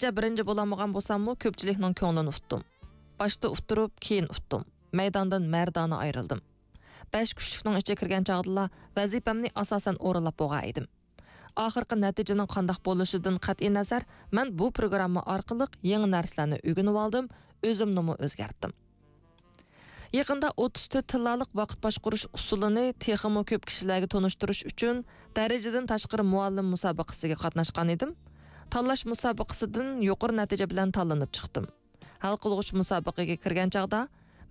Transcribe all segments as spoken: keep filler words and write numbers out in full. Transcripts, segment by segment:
گەرچە بىرىنچى بولالمىغان بولساممۇ، كۆپچىلىكنىڭ كۆڭلىنى ئۇتتۇم. باشتا ئۇتتۇرۇپ، كېيىن ئۇتتۇم. مەيداندىن مەردانە ئايرىلدىم. بەش كۈچلۈكنىڭ ئىچىگە كىرگەن چاغدىلا ۋەزىپەمنى ئاساسەن ئورۇنلاپ بولغان ئىدىم. ئاخىرقى نەتىجىنىڭ قانداق بولۇشىدىن قەتئىينەزەر، مەن بۇ پروگرامما ئارقىلىق يېڭى نەرسىلەرنى ئۆگىنىۋالدىم، ئۆزۈمنىمۇ ئۆزگەرتتىم. يېقىندا ئوتتۇز تۆت تىللالىق ۋاقىت باشقۇرۇش ئۇسۇلىنى تېخىمۇ كۆپ كىشىلەرگە تونۇشتۇرۇش ئۈچۈن دەرىجىدىن تاشقىرى مۇئەللىم مۇسابىقىسىگە قاتناشقان ئىدىم. تاللاش مۇسابىقىسىدىن يۇقىرى نەتىجە بىلەن تاللىنىپ چىقتىم. ھەل قىلغۇچ مۇسابىقىگە كىرگەن چاغدا،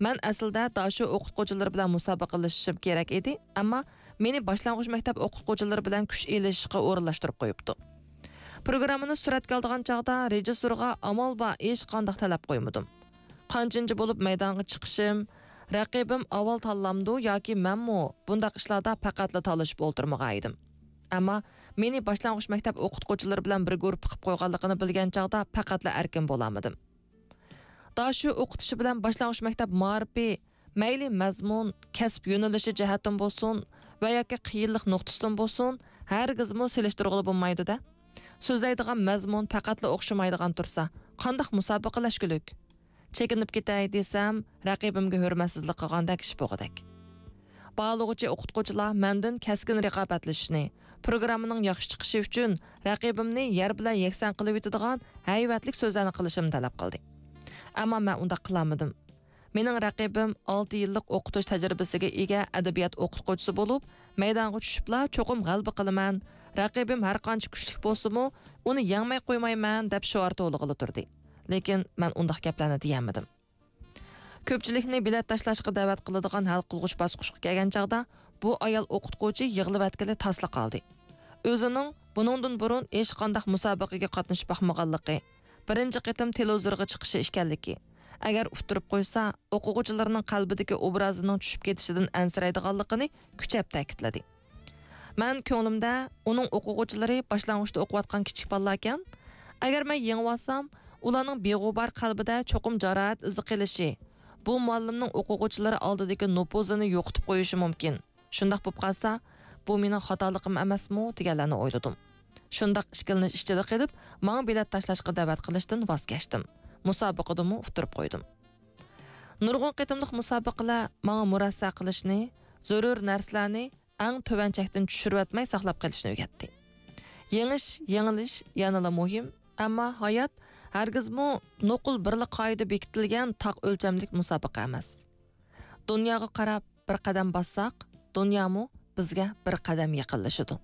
مەن ئەسلىدە داشۆ ئوقۇتقۇچىلىرى بىلەن مۇسابىقىلىشىشىم كېرەك ئىدى، ئەمما مېنى باشلانغۇچ مەكتەپ ئوقۇتقۇچىلىرى بىلەن كۈچ ئېلىشىشقا ئورۇنلاشتۇرۇپ قويۇپتۇ. پروگراممىنى سۈرەتكە ئالىدىغان چاغدا رېژىسسورغا ئامال بار ھېچقانداق تەلەپ قويمىدىم. قانچىنچى بولۇپ مەيدانغا چىقىشىم، رەقىبىم ئاۋۋال تاللامدۇ ياكى مەنمۇ، بۇنداق ئىشلاردا پەقەتلا تالىشىپ ئولتۇرمىغان ئىدىم. ئەمما مېنى باشلانغۇچ مەكتەپ ئوقۇتقۇچىلىرى بىلەن بىر گۇرۇپپا قىلىپ قويغانلىقىنى بىلگەن چاغدا پەقەتلا ئەركىن بولالمىدىم. داشۆ ئوقۇتۇشى بىلەن باشلانغۇچ مەكتەپ مائارىپى، مەيلى مەزمۇن، كەسىپ يۆنىلىشى جەھەتتىن بولسۇن ۋە ياكى قىيىنلىق نۇقتىسىدىن بولسۇن، ھەرگىزمۇ سېلىشتۇرغىلى بولمايدۇ-دە. سۆزلەيدىغان مەزمۇن پەقەتلا ئوخشىمايدىغان تۇرسا، قانداق مۇسابىقىلەشكۈلۈك؟ چېكىنىپ كېتەي دېسەم، رەقىبىمگە ھۆرمەتسىزلىك قىلغاندەك ئىش بولغۇدەك. باھالىغۇچى ئوقۇتقۇچىلار مەندىن كەسكىن رىقابەتلىشىشنى، پروگراممىنىڭ ياخشى چىقىشى ئۈچۈن رەقىبىمنى يەر بىلەن يەكسان قىلىۋېتىدىغان ھەيۋەتلىك سۆزلەرنى قىلىشىمنى تەلەپ قىلدى. ئەمما مەن ئۇنداق قىلالمىدىم. مېنىڭ رەقىبىم ئالتە يىللىق ئوقۇتۇش تەجرىبىسىگە ئىگە ئەدەبىيات ئوقۇتقۇچىسى بولۇپ، مەيدانغا چۈشۈپلا چوقۇم غەلىبە قىلىمەن، رەقىبىم ھەرقانچە كۈچلۈك بولسىمۇ، ئۇنى يەڭمەي قويمايمەن دەپ شوئار توۋلىغىلى تۇردى. لېكىن مەن ئۇنداق گەپلەرنى دېيەلمىدىم. كۆپچىلىكنى بېلەت تاشلاشقا دەۋەت قىلىدىغان ھەل قىلغۇچ باسقۇچقا كەلگەن چاغدا، بۇ ئايال ئوقۇتقۇچى يىغلىۋەتكىلى تاسلا قالدى. ئۆزىنىڭ بۇنىڭدىن بۇرۇن ھېچقانداق مۇسابىقىگە قاتنىشىپ باقمىغانلىقى، بىرىنچى قېتىم تېلېۋىزورغا چىقىشى ئىكەنلىكى، ئەگەر ئۇتتۇرۇپ قويسا، ئوقۇغۇچىلىرىنىڭ قەلبىدىكى ئوبرازىنىڭ چۈشۈپ كېتىشىدىن ئەنسىرەيدىغانلىقىنى كۈچەپ تەكىتلىدى. مەن كۆڭلۈمدە، ئۇنىڭ ئوقۇغۇچىلىرى باشلانغۇچتا ئوقۇۋاتقان كىچىك بالىلاركەن. ئەگەر مەن يېڭىۋالسام، ئۇلارنىڭ بىغۇبار قەلبىدە چوقۇم جاراھەت ئىزى قېلىشى، بۇ مۇئەللىمنىڭ ئوقۇغۇچىلىرى ئالدىدىكى نوپۇزىنى يوقىتىپ قويۇشى مۇمكىن. شۇنداق بولۇپ قالسا، بۇ مېنىڭ خاتالىقىم ئەمەسمۇ دېگەنلەرنى ئويلىدىم. شۇنداق ئىككىلىنىش ئىچىدە قېلىپ، ماڭا بېلەت تاشلاشقا دەۋەت قىلىشتىن ۋاز كەچتىم. مۇسابىقىدىمۇ ئۇتتۇرۇپ قويدۇم. نۇرغۇن قېتىملىق مۇسابىقىلەر ماڭا مۇرەسسە قىلىشنى، زۆرۈر نەرسىلەرنى ئەڭ تۆۋەن چەكتىن چۈشۈرۈۋەتمەي ساقلاپ قېلىشنى ئۆگەتتى. يېڭىش، يېڭىلىش يەنىلا مۇھىم، ئەمما ھايات ھەرگىزمۇ نوقۇل بىرلا قائىدە بېكىتىلگەن تاق ئۆلچەملىك مۇسابىقە ئەمەس. دۇنياغا قاراپ بىر قەدەم باسساق، دۇنيامۇ بىزگە بىر قەدەم يېقىنلىشىدۇ.